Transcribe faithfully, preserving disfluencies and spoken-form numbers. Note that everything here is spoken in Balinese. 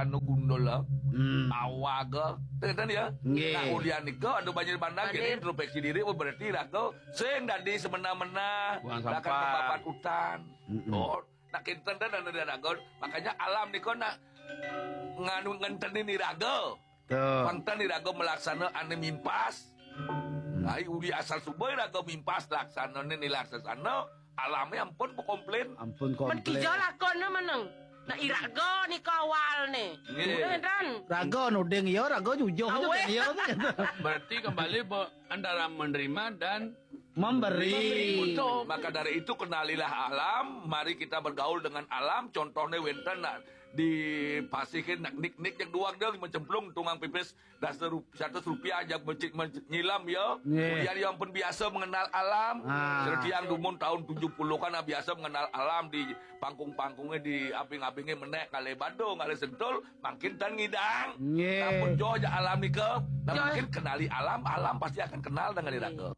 anu gundul lah. Hmm. Awaga. Ten ya. Nggih. Nah, ulian nika anu banjir bandang Hadir. Kini introspeksi diri berarti raga sing dadi semena-mena Buang bahkan sampah. Membabat hutan. Mm-mm. Oh, nak kinten dan anu raga. Makanya alam nika nak nganu ngentenin iraga. Tuh. Pangten iraga melaksana anu mimpas. Nah, uli asal suba iraga mimpas laksana ni laksana alamnya ampun komplain. Ampun Men kija komplain. lakona meneng. Nah, iraga nika awal nih. Nggih. Udah kan? Raga nuding ya, raga jujuh aja Aweh. kan ya. Berarti kembali bahwa antara menerima dan Memberi. Untuk Maka dari itu kenalilah alam, mari kita bergaul dengan alam. Contohnya wenten nak di pasihin nak nik-nik yang duang dia mencemplung tungang pipis dasar rup, seratus rupiah aja mencik menyilam ya. Nggih. Kemudian yang pun biasa mengenal alam. Ah. Seperti yang dumun tahun tujuh puluhan ah, biasa mengenal alam di pangkung-pangkungnya di aping-apingnya menek kali Badung kali Sentul makin tan ngidang. Nggih. Namun jo aja alam nika, nah, Jo. Makin kenali alam, alam pasti akan kenal dengan iraga.